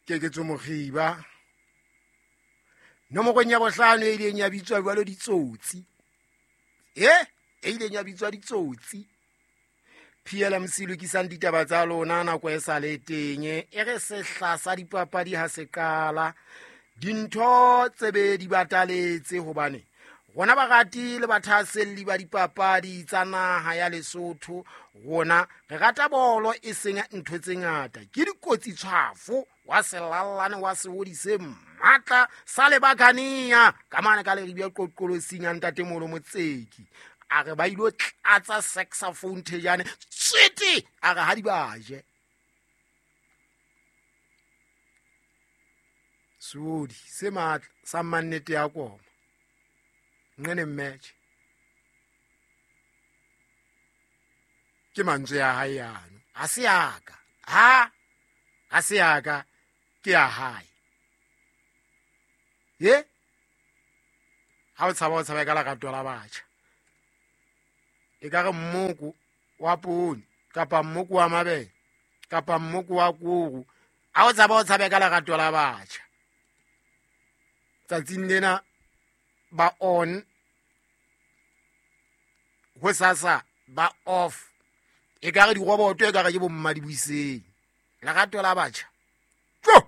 Keketso Mokgiba nomorong ya bohlano e ileng ya bitswa jwalo ditsotsi, e ileng ya bitswa ditsotsi. PLMC lokisang ditaba tsa lona nako e sa le teng. E re sehla sa dipapadi ha se qala, dintho tsebe di bataletse, hobane rona barati le bathahaselli ba dipapadi tsa naha ya Lesotho, rona re rata bolo e seng ntho tse ngata. Ke dikotsi tshwafo wa selallane wa seodi se matla sa lebakania ka mane ka leribia qoqolosing ya ntatemolo Motseki. A re ba ilo tlatsa saxophone thejane tswete, a re ha di baje seodi se matla sa mannete ya koma nqene match. Ke mantswe ya hae yano, ha se yaka, ha se yaka, ke ya hae. Ye ha o tshaba, o tshaba ka lerato la batjha. E ka re mmoko wa poone kapa mmoko wa mabele kapa mmoko wa koro, ha o tshaba, o tshabe ka lerato la batjha. Tsatsing lena ba on, ho sasa ba off, e ka re diroboto, e ka re ke bomma di buiseng. Lerato la batjha.